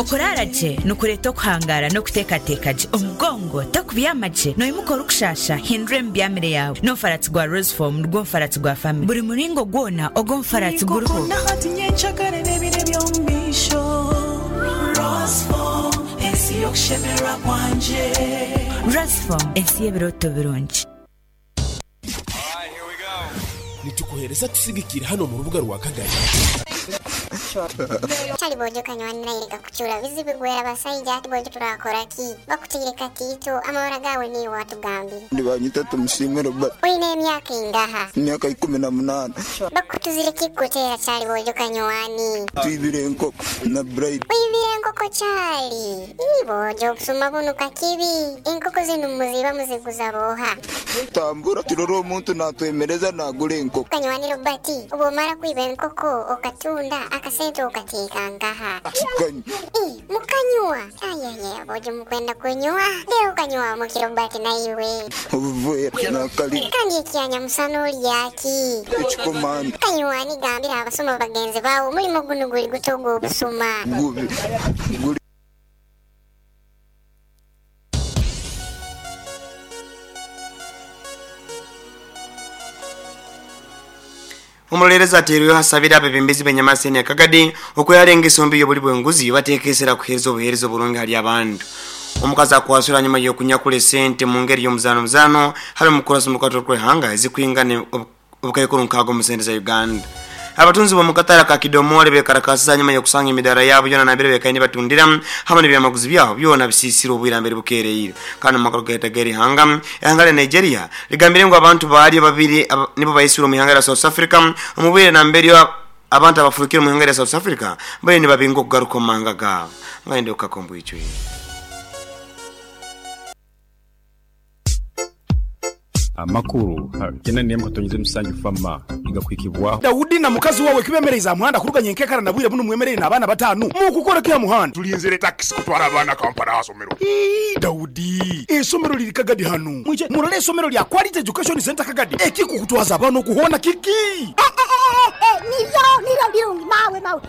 Okuraara gye nikureeta okuhangaara n'okuteekateeka gye. Omugongo tokubyama gye, noimuka orikushaasha, hindura emibyamire yaawe. N'omufaratsi gwa Rosefoam nigwo mufaratsi gwa famire. Buri muringo gwona ogw'omufaratsi guriho. Nk'oku na hati nyencakare n'ebiro eby'omu maisho. Rosefoam, ensi y'okushemererwa kwangye. Rosefoam, ensi y'ebirooto birungi. Nitukuhereza tusigikiire hanu omu rubuga rwa Kagari. Kyali bwojo kanywani naireka kucura bizibu gwera basaija ati bwojo turakora ki bakutaire katiito amabara gawe niiwe watugambire. Nibanyeta Tumusiime Robert. Oine emyaka ingaha? Emyaka 18. Bakutuzire ki kukutera kyali bwojo kanywani? Twibire enkoko na Bright. Oibire enkoko kyali? Ii bwojo obusuma bunu kakibi. Enkoko zinu muziiba muziguza booha? Tambura turore omuntu natwemereza nagura enkoko. Kanywani Robert, obwomara kwiba enkoko okatunda, akasente okateeka nkaha? Tukanywa. Ii, mukanywa? Ayayaya bwojo mukwenda kunywa? Lero okanywa muki Robert naiwe? Obuveera nakalina. Kandi ekyanyamusana olya ki? Ekikomando. Kanywani gambira abasuma bagenzi bawe omulimo gunu guli guta ogw'obusuma? Gubi. Guli. Omuroleerezi ateirweho asabire abebembezi b'enyamaseni ya Kagadi okwehara engeso mbi y'obuli bw'enguzi bateeke esera kuheereza obuheereza oburungi hali abantu. Omukazi akwasirwe hanyuma y'okunyakura esente mu ngeri y'omuzaano muzaano hali omukurasi omu rukato rw'eihanga ezikwingana obukaikuru nkaaga omu sente za Uganda. Abatunzi b'omu katare aka Kidomole bekarakasize hanyuma y'okusanga emidaara yaabo yoona nambere bekaire nibatundira hamwe n'ebyamaguzi byabo byona bisiisire obwire mbere bukeereire. Kandi omu makuru gaitu ag'erihanga, ihanga lya Nigeria ligambire ngu abantu baalyo babiri nibo baisirwe omu ihanga lya South Africa omu bwire nambere abantu abafurukire omu ihanga lya South Africa bariyo nibabingwa okugaruka omu mahanga gaabo. Ngaende okukaka omu bwijwire. Amakuru ha 81.7 FAMA nigakuhikibwaho. Daudi na mukazi wawe kibemereize aha muhanda kuruga nyenkekara na bwire bunu mwemereire n'abaana bataanu. Mukukora ki aha muhanda? Tulinzire takisi kutwara abaana Kampala aha somero. Ii, Daudi, eisomero liri Kagadi hanu. Mwije murole eisomero lya Quality Education Centre Kagadi. Ekikukutwaza abaana oku hoona kiki? Niryo, niryo birungi mawe, mawe.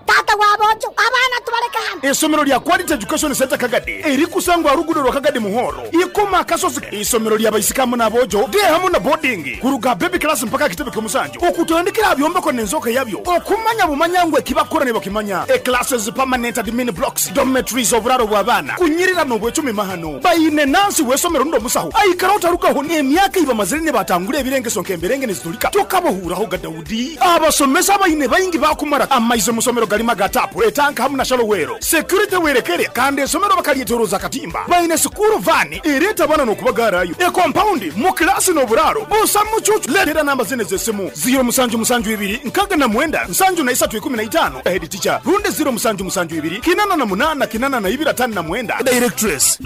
Taata wa boojo, abaana tubaleke hanu. Eisomero lya Quality Education Centre Kagadi erikusangwa aha ruguudo rwa Kagadi Muhoro, Ikoma Akasozi. Eisomero lya baisiki hamu n'aboojo, day hamu na boarding, kuruga aha baby class mpaka aha kitebe ky'omusanju, okutandikira aha byombeko n'enzooka yabyo, okumanya bumanya ngu eki bakukora nibakimanya. E Classes, permanent admin blocks, dormitories, oburaaro bw'abaana, kunyirira n'obwecumi mahano. Baine nansi w'eisomero rundi omusaho aikara otarugaho n'emyaka ei bamazire nibatangura ebirengeso nk'emberenge niziturika tokabahuuraho ga Daudi. Abasomesa abaine baingi baakumara amaizi omu somero garimu aga taapu, etanka hamu na shalowero. Security werekere kandi esomero bakaryetoroza akatimba. Baine sikuuru vaani ereeta abaana n'okubagaarayo. Ekompaundi, mu kilaasi n'oburaaro busa mucuucu. Leetera namba zinu ez'esimu, ziiro musanju musanju ibiri nkaaga na mwenda nsanju na isatu ikumi na itaano, Head teacher, rundi ziiro musanju musanju ibiri kinana na munaana kinana na ibiri ataano na mwenda, Directress.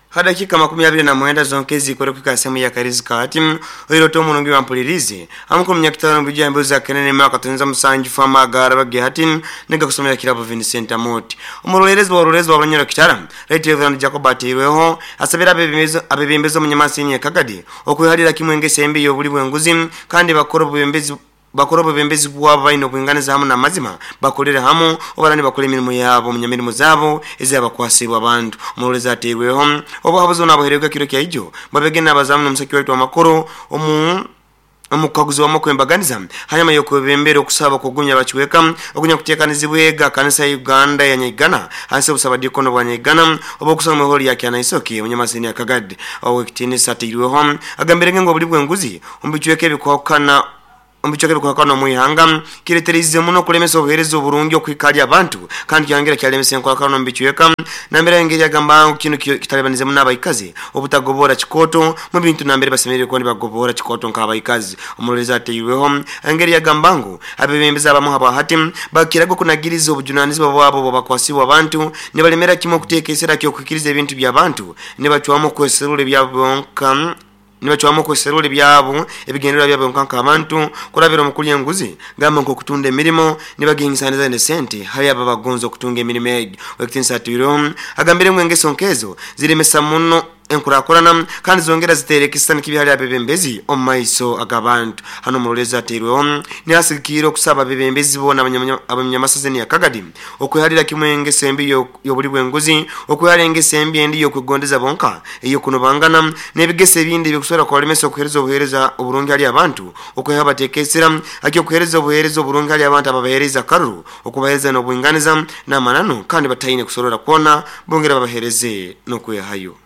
Ha dakika 29 zonka ezikore kuhika sehemu ya Karizi kati oirote omurungi wampulirize amukuru munyakitaro mbujja embuzi za Kenene mwaka 77 famagara bage hati nega kusomera kirabo Vincent Amoti omurolerezi wa rurezi wa Banyoro Kitara Right Reverend Jacob Ateirweho asabira abebembezo omunyamasini ya Kagadi okweharira kimwe engeso embi y'obuli bw'enguzi kandi bakora obubembezi bakora obubembezi bwabo baine obwinganiza hamu n'amazima bakolere hamu obarani bakora emirimo yabo omunyamirimo zabo ezabakwasibwa abantu. Omurorezi ateirweho obuhabuzi nabuhererwa kiro kya ijo babegena abazamu n'omusaki waitu amakuru omu omukaguzi wa kwembaganiza hanyuma y'okwebembera okusaba kugunya bakiweka okunya kuteekanizibwega kanisa ya Uganda ya Nyaigana hansi obusabadikono bwa Nyaigana obokusoma mu hall ya Kyanaisoki omunyamasini ya Kagadi owekitinisa ateirweho agambire ngu obuli bw'enguzi omubichweka ebikwakana omubichweka ebikwakana omu ihanga kireterize muno okulemesa obuheereza oburungi okuhika abantu kandi kyongera kyalemesa enkwakana omu bichweka nambere engeri agamba ngu kinu kitalibanize muno abaikazi obutagobora kikoto mu bintu nambere basemereire kuba nibagobora kikoto nk'abaikazi. Omurorezi ateirweho engeri yagamba ngu abebembezi abamu habwahati bakiraga okunagiriza obujunanizibwa bwabo bwabakwasibwa abantu nibalemera kimwe okuteeka esera ky'okuhikiriza ebintu by'abantu nibacwamu okweserura ebyabo bonka nibacwamu okweserura ebyabo ebigendererwa byabo nka nk'abantu kurabira omu kulya enguzi gamba nk'okutunda emirimo nibagingisaniza nesente hali abo abagonza okutunga emirimo egyo. Wekitinisa atwireho agambire ngu engeso nkezo ziremesa muno enkurakurana kandi zongera ziteera ekisisani kibi hali abebembezi omu maiso ag'abantu. Hano omurolezi ateirweho nihasigikirra okusaba abebembezi boona abanyamasazeni ya Kagadi okwehalira kimwe engeso embi y'obuli bw'enguzi, okwehara engeso embi endi y'okwegondeza bonka, ey'okunobangana n'ebigeso ebindi ebikusobora kubalemesa okuheereza obuheereza oburungi hali abantu, okweha bateeka esira akyokuheereza obuheereza oburungi hali abantu ababaheereza akaruru, okubaheereza n'obwinganiza n'amananu kandi bataine kusorora kwona, bongera babaheereze n'okwehayo.